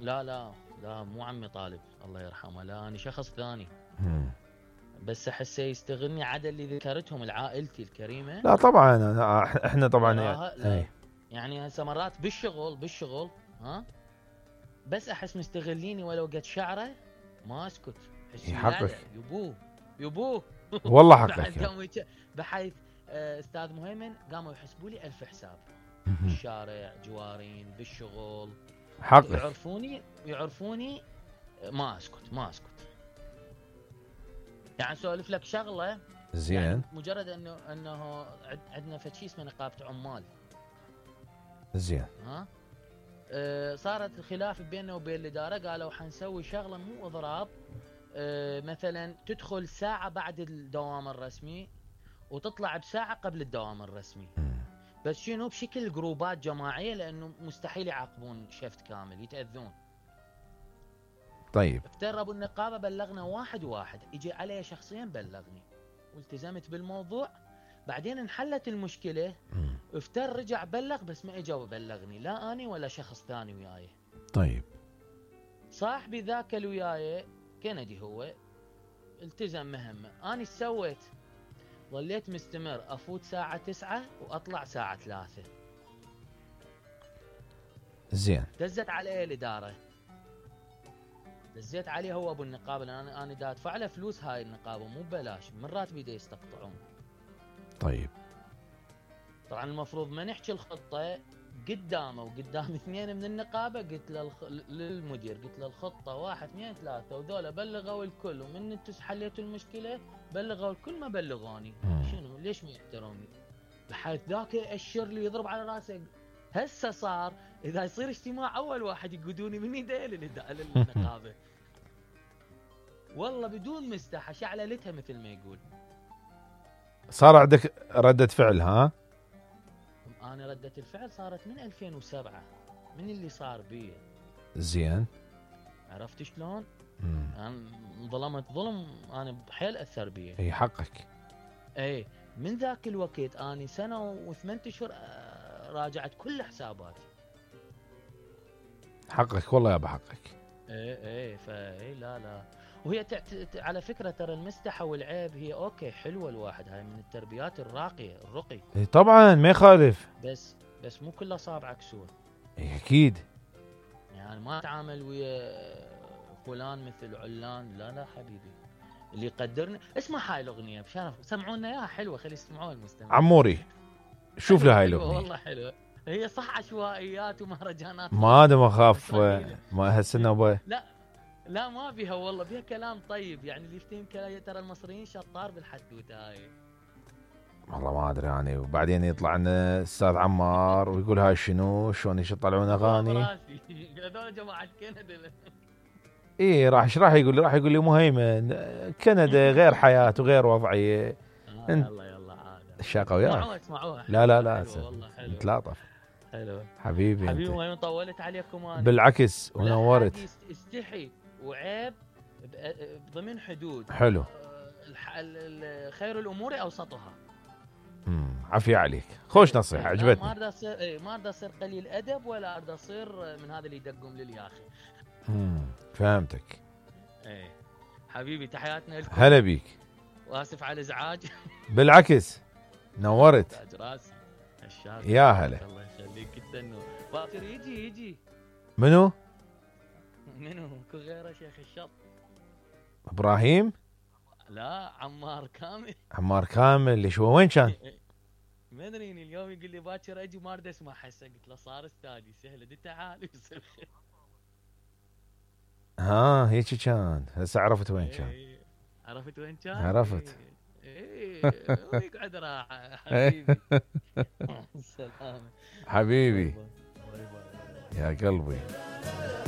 لا لا لا، مو عمي طالب الله يرحمه، لا انا شخص ثاني. بس احسه يستغلني عدا اللي ذكرتهم العائلتي الكريمه. لا طبعا احنا طبعا لا. يعني هسه مرات بالشغل ها، بس احس مستغليني ولو قد شعره ما اسكت. حقك يبوه والله حقك. بحيث استاذ مهيمن قاموا يحسبوا لي 1000 حساب بالشارع، جوارين، بالشغل، حقك. يعرفوني ما اسكت. يعني اسولف لك شغله زين، يعني مجرد انه عندنا فشي اسمه نقابه عمال. زين. ها صارت الخلاف بيننا وبين الاداره، قالوا حنسوي شغله مو اضراب، مثلا تدخل ساعه بعد الدوام الرسمي وتطلع بساعه قبل الدوام الرسمي. بس شنو؟ بشكل جروبات جماعيه، لانه مستحيل يعاقبون شفت كامل يتاذون. طيب افترضوا النقابه بلغنا واحد يجي علي شخصيا بلغني والتزمت بالموضوع. بعدين انحلت المشكله، افتر رجع بلغ بس ما اجا وبلغني، لا اني ولا شخص ثاني وياي. طيب صاحبي ذاك اللي وياي كندي هو التزم مهمه، اني ايش سويت؟ ظليت مستمر، افوت ساعه 9 واطلع ساعه 3. زين. دزت عليه الاداره، دزيت عليه هو ابو النقابه، لان انا دا ادفع له فلوس هاي النقابه مو ببلاش، من راتبي دا يستقطعون. طيب طبعا المفروض ما نحكي الخطه قدامه وقدام اثنين من النقابه، قلت للمدير، قلت له الخطه 1 2 3 وذولا بلغوا الكل، ومن انتم حليتوا المشكله بلغوا الكل، ما بلغوني. شنو ليش ما يحترمني؟ بحيث ذاك يأشر لي يضرب على راسه. هسه صار اذا يصير اجتماع اول واحد يقودوني من يديه للنقابه. والله بدون مستحى شعللتها مثل ما يقول. صار عندك ردة فعل؟ ها انا ردة الفعل صارت من 2007 من اللي صار بي. زين. عرفت شلون؟ انا ظلمت ظلم، انا بحيل اثر بي. اي حقك. اي من ذاك الوقت اني 1 سنة و8 اشهر راجعت كل حساباتي. حقك والله يا ابو حقك. اي فاي لا وهي على فكره ترى المستحى والعيب هي اوكي حلوه، الواحد هاي من التربيات الراقيه الرقي. اي طبعا ما يخالف، بس مو كل اصابعك سود. اي اكيد. يعني ما تعامل ويا فلان مثل علان، لا حبيبي اللي يقدرني. اسمع هاي الاغنيه بشرف، سمعونا اياها حلوه، خلي يسمعوها المستمعين. عموري شوف لي هاي الاغنيه والله حلوه، هي صح عشوائيات ومهرجانات، ما ادم اخاف ما هالسنه. لا ما بيها والله، بيها كلام طيب، يعني اللي يفتهم كلام. ترى المصريين شطار بالحدوته هاي. والله ما ادري يعني. وبعدين يطلع لنا استاذ عمار ويقول هاي شنو شلون يطلعون اغاني. هذول جماعه كندا. ايه راح يقول لي مهيمن كندا غير حياه وغير وضعيه. يلا عاد الشاقه وياك. اسمعوها لا نتلاطف. حلو حبيبي ما طولت عليكم انا. بالعكس ونورت. استحي وعيب ضمن حدود. حلو. خير الامور اوسطها. عافية عليك، خوش نصيحة عجبتني. ما اريد اصير قليل ادب، ولا اريد اصير من هذا اللي يدقم لي يا اخي. فهمتك. ايه حبيبي تحياتنا لكم. هلا بيك. واسف على الازعاج. بالعكس نورت. تاج راسي الشاق. يا هلا. الله يخليك جدا. باكر يجي منو كو غيره شيخ الشط؟ ابراهيم؟ لا عمار كامل اللي شو وين كان؟ ما ادري اليوم يقول لي باكر اجي، ما اريد اسمع هسه. قلت له صار استاذي سهله دي تعال. هيك كان. هسه عرفت وين كان. عرفت وين كان؟ عرفت. ويقعد راحه حبيبي. سلام حبيبي يا قلبي.